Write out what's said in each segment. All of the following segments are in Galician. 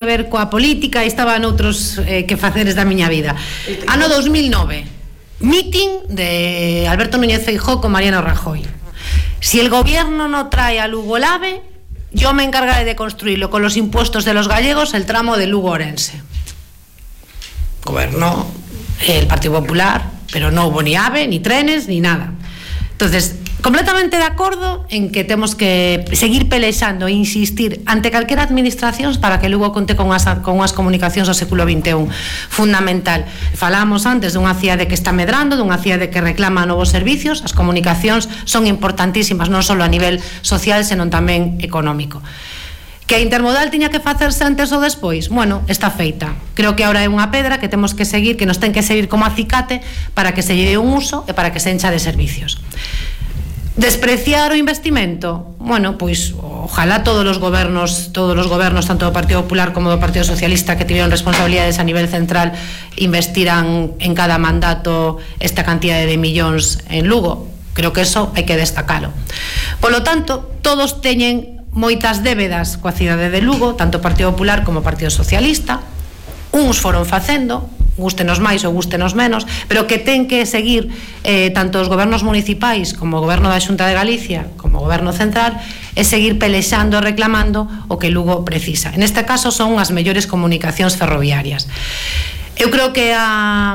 ver coa política e estaba noutros quefaceres da miña vida. Ano 2009, meeting de Alberto Núñez Feijóo con Mariano Rajoy. Si el gobierno no trae a Lugo el AVE, yo me encargaré de construirlo con los impuestos de los gallegos el tramo de Lugo-Orense. Gobernó el Partido Popular, pero no hubo ni AVE, ni trenes, ni nada. Entonces, completamente de acordo en que temos que seguir pelexando e insistir ante calquera administración para que Lugo conte con unhas comunicacións do século XXI fundamental. Falábamos antes dunha cidade que está medrando, dunha cidade que reclama novos servicios. As comunicacións son importantísimas non só a nivel social, senón tamén económico. Que a intermodal tiña que facerse antes ou despois? Bueno, está feita. Creo que ahora é unha pedra que temos que seguir, que nos ten que seguir como acicate para que se lle dé un uso e para que se encha de servicios. Despreciar o investimento? Bueno, pois ojalá todos os gobernos, tanto do Partido Popular como do Partido Socialista, que tiveron responsabilidades a nivel central, investiran en cada mandato esta cantidade de millóns en Lugo. Creo que eso hai que destacalo. Polo tanto, todos teñen moitas débedas coa cidade de Lugo, tanto o Partido Popular como o Partido Socialista. Uns foron facendo, gústenos máis ou gústenos menos, pero que ten que seguir tanto os gobernos municipais como o goberno da Xunta de Galicia como o goberno central, e seguir pelexando e reclamando o que Lugo precisa. En este caso son as mellores comunicacións ferroviarias. Eu creo que a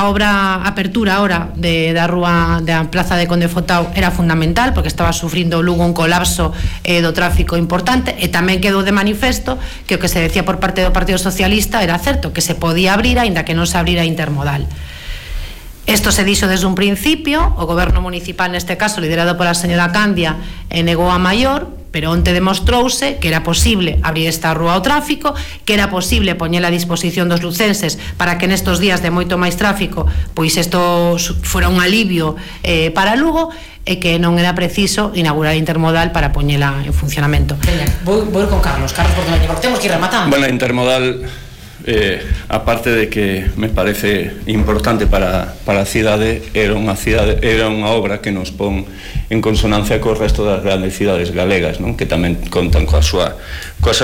obra apertura ahora da rúa da Plaza de Conde Fotao era fundamental, porque estaba sufrindo Lugo un colapso do tráfico importante, e tamén quedou de manifesto que o que se decía por parte do Partido Socialista era certo, que se podía abrir aínda que non se abrira intermodal. Isto se dixo desde un principio, o goberno municipal neste caso liderado pola señora Candia negou a maior, pero onte demostrouse que era posible abrir esta rúa ao tráfico, que era posible poñela a disposición dos lucenses para que nestos días de moito máis tráfico pois isto fora un alivio para Lugo, e que non era preciso inaugurar intermodal para poñela en funcionamento. Veña, vou con Carlos, porque temos que ir rematando. Bueno, intermodal, aparte de que me parece importante para a cidade, era unha obra que nos pon en consonancia co resto das grandes cidades galegas, non? Que tamén contan coa súa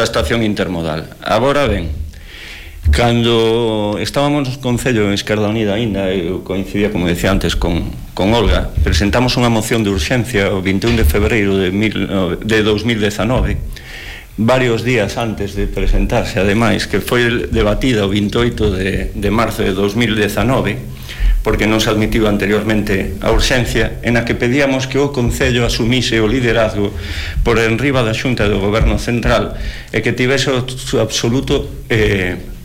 estación intermodal. Agora ben, cando estábamos no Concello en Esquerda Unida aínda, eu coincidía, como decía antes, con Olga, presentamos unha moción de urxencia o 21 de febreiro de 2019, varios días antes de presentarse, ademais, que foi debatida o 28 de marzo de 2019, porque non se admitiu anteriormente a urxencia, en a que pedíamos que o Concello asumise o liderazgo por enriba da Xunta do Goberno Central e que tivese o absoluto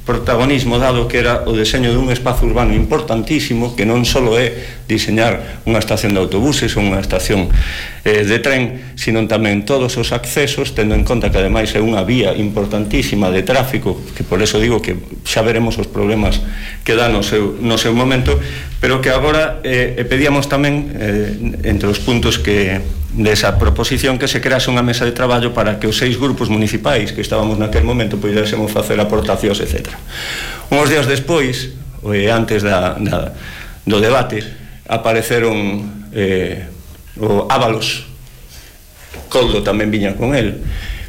protagonismo, dado que era o deseño dun espazo urbano importantísimo, que non só é diseñar unha estación de autobuses ou unha estación de tren, sino tamén todos os accesos, tendo en conta que ademais é unha vía importantísima de tráfico, que por eso digo que xa veremos os problemas que dá no seu momento, pero que agora pedíamos tamén, entre os puntos desa proposición, que se crease unha mesa de traballo para que os 6 grupos municipais que estábamos naquel momento pudésemos facer aportacións, etc. Uns días despois, antes do debate, apareceron o Ábalos, Coldo tamén viña con el.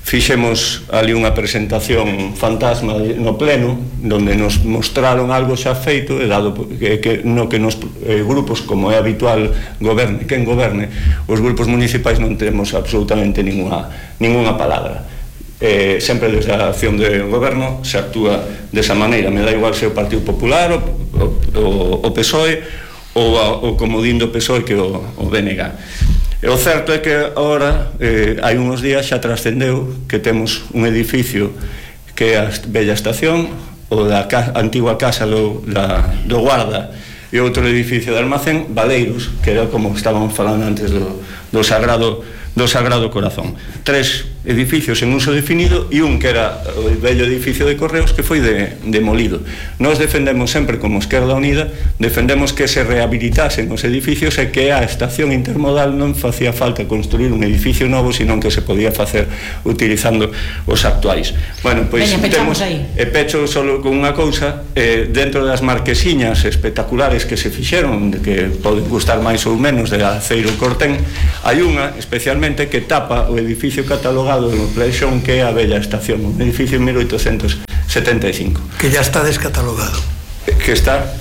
Fixemos ali unha presentación fantasma no pleno, donde nos mostraron algo xa feito, e dado que nos grupos, como é habitual, goberne quen goberne, os grupos municipais non temos absolutamente ninguna palabra. Sempre desde a acción do goberno se actúa desa maneira. Me dá igual se o Partido Popular, o PSOE, ou como dindo PSOE, que o BNG. E o certo é que agora, hai uns días, xa trascendeu que temos un edificio que é a vella estación, o da antigua casa do guarda, e outro edificio de almacén, Valeiros, que era como estábamos falando antes do Sagrado Corazón. 3 edificios en uso definido e un que era o vello edificio de Correos, que foi demolido. Nós defendemos sempre, como Esquerda Unida, defendemos que se rehabilitasen os edificios e que a estación intermodal non facía falta construir un edificio novo, senón que se podía facer utilizando os actuais. Bueno, pois temos, e pecho solo con unha cousa, dentro das marquesiñas espectaculares que se fixeron, que poden gustar máis ou menos, de Aceiro Cortén, hai unha especialmente que tapa o edificio catalogado catalogado no Pleixón, que é a Bella Estación, un edificio en 1875. Que ya está descatalogado. Que está...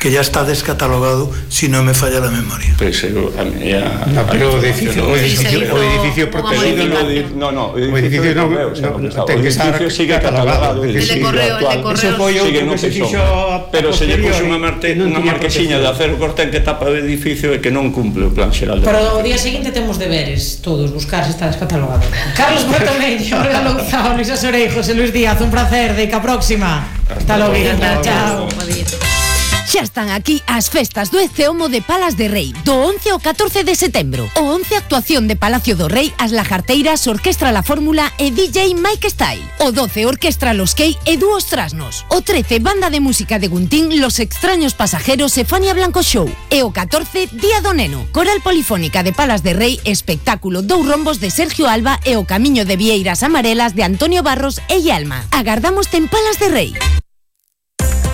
Que ya está descatalogado, si no me falla la memoria. Pues, pero o edificio protegido no, o edificio sigue catalogado. El de Correo sigue no Peixón, pero se lle puxo unha marquesiña de acero corten que tapa o edificio e que non cumple o plan xeral. Pero o día seguinte temos deberes todos, buscar se está descatalogado. Carlos Bertomeño, Olga Louzao, Luisa Sorei, José Luis Díaz, un placer, de ca próxima. Hasta logo, chao. Xa están aquí as festas do Eceomo de Palas de Rei, do 11 ao 14 de setembro. O 11 actuación de Palacio do Rei, as Lajarteiras, Orquestra La Fórmula e DJ Mike Style. O 12 Orquestra Los Key e Dúos Trasnos. O 13 Banda de Música de Guntín, Los Extraños Pasajeros e Fania Blanco Show. E o 14 Día do Neno, Coral Polifónica de Palas de Rei, espectáculo Dous Rombos de Sergio Alba e o Camiño de Vieiras Amarelas de Antonio Barros e Yalma. Agardámoste en Palas de Rei.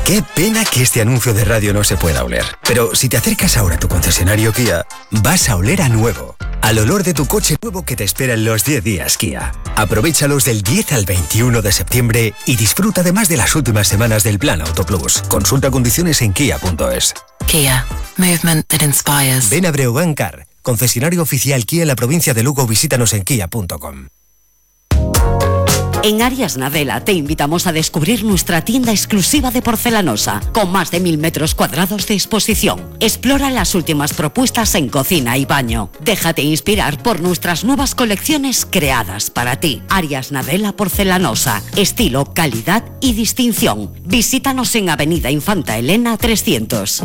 Qué pena que este anuncio de radio no se pueda oler. Pero si te acercas ahora a tu concesionario Kia, vas a oler a nuevo. Al olor de tu coche nuevo que te espera en los 10 días Kia. Aprovéchalos del 10 al 21 de septiembre y disfruta además de las últimas semanas del Plan Auto Plus. Consulta condiciones en kia.es. Kia. Movement that inspires. Ven a Breogán Car, concesionario oficial Kia en la provincia de Lugo. Visítanos en kia.com. En Arias Nadella te invitamos a descubrir nuestra tienda exclusiva de porcelanosa, con más de 1000 metros cuadrados de exposición. Explora las últimas propuestas en cocina y baño. Déjate inspirar por nuestras nuevas colecciones creadas para ti. Arias Nadella Porcelanosa, estilo, calidad y distinción. Visítanos en Avenida Infanta Elena 300.